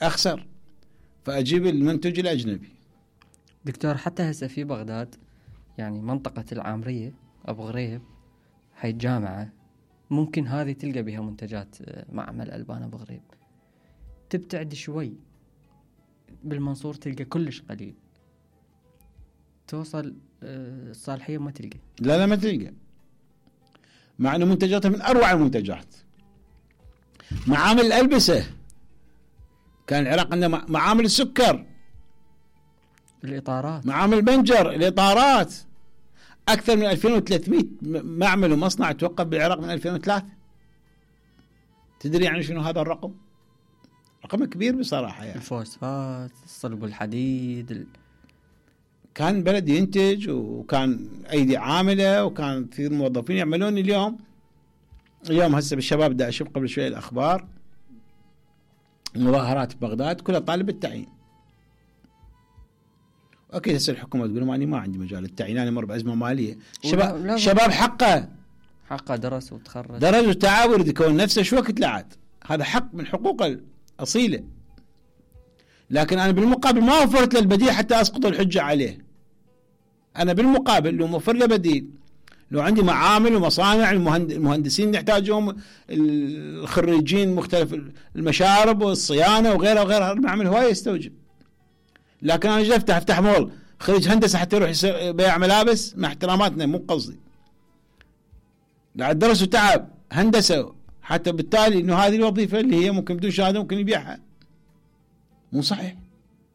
أخسر، فأجيب المنتج الأجنبي. دكتور حتى هسه في بغداد يعني منطقة العامرية أبو غريب هاي الجامعة ممكن هذه تلقى بها منتجات معمل ألبان أبو غريب. تبتعد شوي بالمنصور تلقى كلش قليل، توصل الصالحية ما تلقى. لا ما تلقى، مع أنه منتجاتها من أروع المنتجات. معامل الألبسة، كان العراق عنده معامل السكر، الإطارات، معامل البنجر، الإطارات. أكثر من 2300 معمل ومصنع توقف بالعراق من 2003. تدري يعني شنو هذا الرقم؟ رقم كبير بصراحة يعني. الفوسفات، الصلب والحديد. كان بلد ينتج، وكان أيدي عاملة، وكان في موظفين يعملون. اليوم هسه بالشباب دا أشوف قبل شوية الأخبار، مظاهرات ببغداد كلها طالب التعيين. أكيد هسه الحكومة تقول أنا ما عندي مجال التعيين، أنا مر بأزمة مالية. شباب حقه درس وتخرج، درس وتعب ويريد يكون نفسه. شو وقت لعاد؟ هذا حق من حقوق الأصيلة، لكن أنا بالمقابل ما وفرت له البديل حتى أسقط الحجة عليه. أنا بالمقابل لو موفر له بديل، لو عندي معامل ومصانع، المهندسين نحتاجهم، الخريجين مختلف المشارب والصيانة وغيرها وغيرها، المعمل هواية يستوجب. لكن أنا جاي أفتح مول، خريج هندسة حتى يروح بيع ملابس، مع احتراماتنا مو قصدي، قاعد درس وتعب هندسة حتى بالتالي إنه هذه الوظيفة اللي هي ممكن بدون شهادة ممكن يبيعها. مو صحيح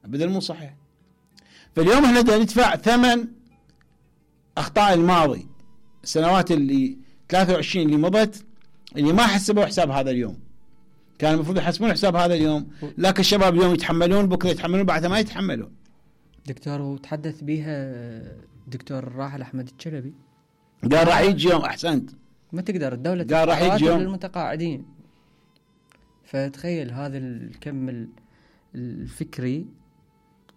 أبدا، مو صحيح. فاليوم احنا ندفع ثمن أخطاء الماضي، السنوات اللي 23 اللي مضت، اللي ما حسبوا حساب هذا اليوم. كان المفروض يحسبون حساب هذا اليوم، لكن الشباب اليوم يتحملون، بكرة يتحملون، بعدها ما يتحملون. دكتور وتحدث بها دكتور الراحل أحمد الشلبي، قال راح يجي يوم. أحسنت، ما تقدر الدولة قال راح يجي يوم للمتقاعدين. فتخيل هذا الكم الفكري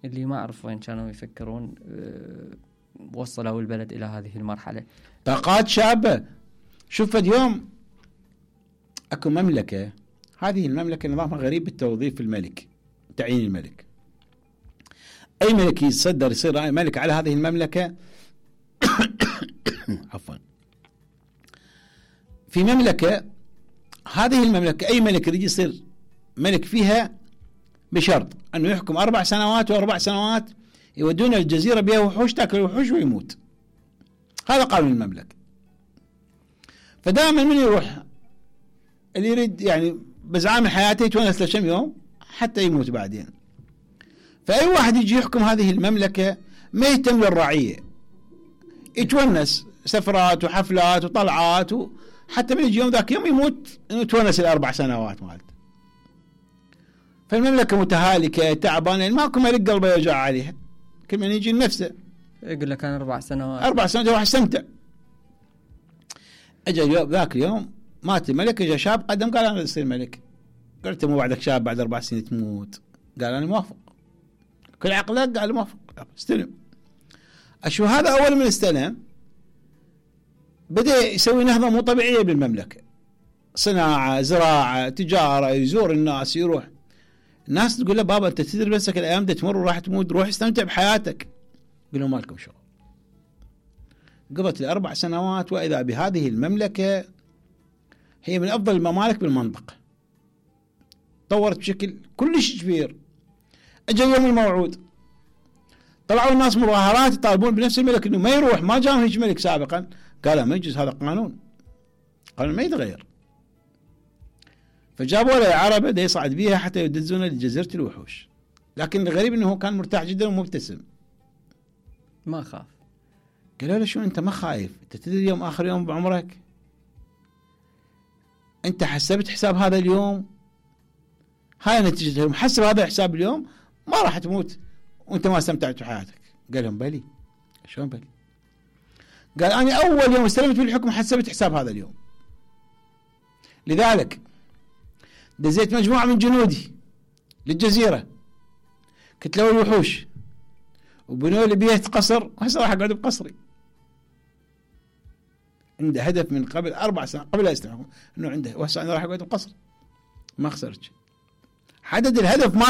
اللي ما أعرف وين كانوا يفكرون وصلوا البلد إلى هذه المرحلة. طاقات شابة. شوف اليوم أكو مملكة، هذه المملكة نظامها غريب بالتوظيف الملك، تعيين الملك. أي ملك يصدر يصير ملك على هذه المملكة عفوا. في مملكة، هذه المملكة أي ملك يريد يصير ملك فيها بشرط أنه يحكم 4 سنوات، و4 سنوات يودون الجزيرة بها وحوش، تاكل الوحوش ويموت. هذا قانون المملكة. فدائما من يروح اللي يريد يعني بزعام حياته يتونس لكم يوم حتى يموت بعدين. فأي واحد يجي يحكم هذه المملكة ما يهتم للرعية، يتونس سفرات وحفلات وطلعات، حتى من يجي يوم ذاك يوم يموت يتونس 4 سنوات مالته. فالمملكة متهالكة تعبانة، ماكو ملك قلبه يوجع عليها، كل من يجي لنفسه يقول لك أنا 4 سنوات 4 سنوات راح استمتع. اجى ذاك اليوم مات الملك، اجى شاب قدم قال انا اصير ملك. قلت مو بعدك شاب بعد 4 سنين تموت؟ قال انا موافق. كل عقلك قال موافق، استلم. اشو هذا اول من استلم بدأ يسوي نهضة مو طبيعية بالمملكة، صناعة، زراعة، تجارة، يزور الناس، يروح. الناس تقول له بابا انت تدري بسك الايام دي تمر وراح تموت، روح استمتع بحياتك. قالوا مالكم شغل. قضت لي 4 سنوات، واذا بهذه المملكة هي من افضل الممالك بالمنطقة، طورت بشكل كلش كبير. اجى اليوم الموعود، طلعوا الناس مظاهرات يطالبون بنفس الملك انه ما يروح، ما جاء هيك ملك سابقا. قال ما يجوز، هذا قانون ما يتغير. فجابوا له عربة دا يصعد بيها حتى يدزونه لجزيرة الوحوش. لكن الغريب انه هو كان مرتاح جدا ومبتسم، ما خاف. قالوا له شو انت ما خايف؟ انت تدري اليوم اخر يوم بعمرك، انت حسبت حساب هذا اليوم، هاي نتيجة محسب هذا الحساب اليوم، ما راح تموت وانت ما استمتعت بحياتك. قال لهم بلي. شلون بلي؟ قال انا اول يوم استلمت بالحكم حسبت حساب هذا اليوم، لذلك دزيت مجموعة من جنودي للجزيرة، كتلوا الوحوش وبنوا لي بيت قصر، وهسه راح اقعد بقصري. عنده هدف من قبل 4 سنوات قبل لا يستلم انه عنده، وهسه انا راح اقعد بقصر. ما خسرت، حدد الهدف ما